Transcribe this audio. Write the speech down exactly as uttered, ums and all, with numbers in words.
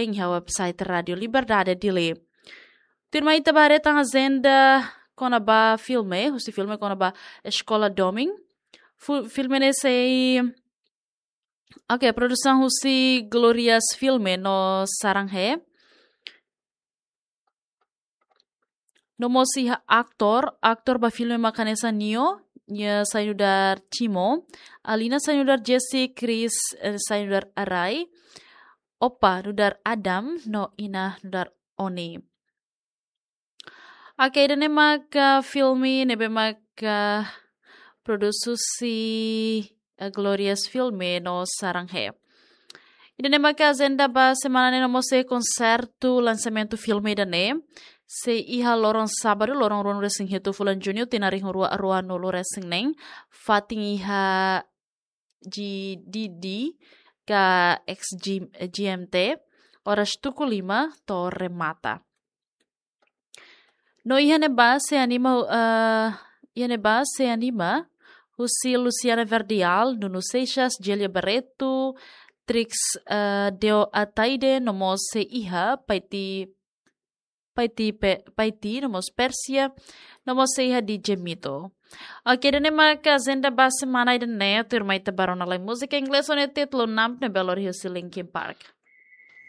iha website Rádio Liberdade Dili. Tuirmai ita bá haree tan ajenda kona-ba filme, husi filme kona-ba Eskola Domin. Fu-, filme ne'e sei, oke, produsaun husi Glorias Filme no Sarang He. No mós iha aktór, aktór ba filme mak hanesan Nio, nia sai nu'udar Timo, Alina sai nu'udar Jesse, Chris, eh, sai nu'udar Arai, Opa nu'udar Adam, no Ina nu'udar Oni. Oke, ida-ne'e maka filme ne'ebé maka produsaun husi, eh, Glorias Filme no Sarang He. Ida-ne'e maka ajenda ba semana ne'e, no mós iha konsertu lansamentu filme ida-ne'e sei iha loron sábadu, loron ruanulu-resin-hitu fulan Juñu, tinan rihun rua ruanulu-resin-neen, fatin iha G D D ka ex G-, G M T, oras tuku lima to'o remata. No iha ne'ebá sei anima, eh, iha ne'ebá sei anima husi Luciana Verdial, Nuno Seixas, Gélia Barreto, Trix, eh, Deo Ataide, no mós sei iha Paiti, Paiti Pe-, Paiti, no mós Pérsia, no mós sei iha D J Mito. Oke, ida-ne'e maka ajenda ba semana ida-ne'e, tuirmai ita bá rona lai múzika inglés ho nia títulu Numb ne'ebé lori husi Linkin Park.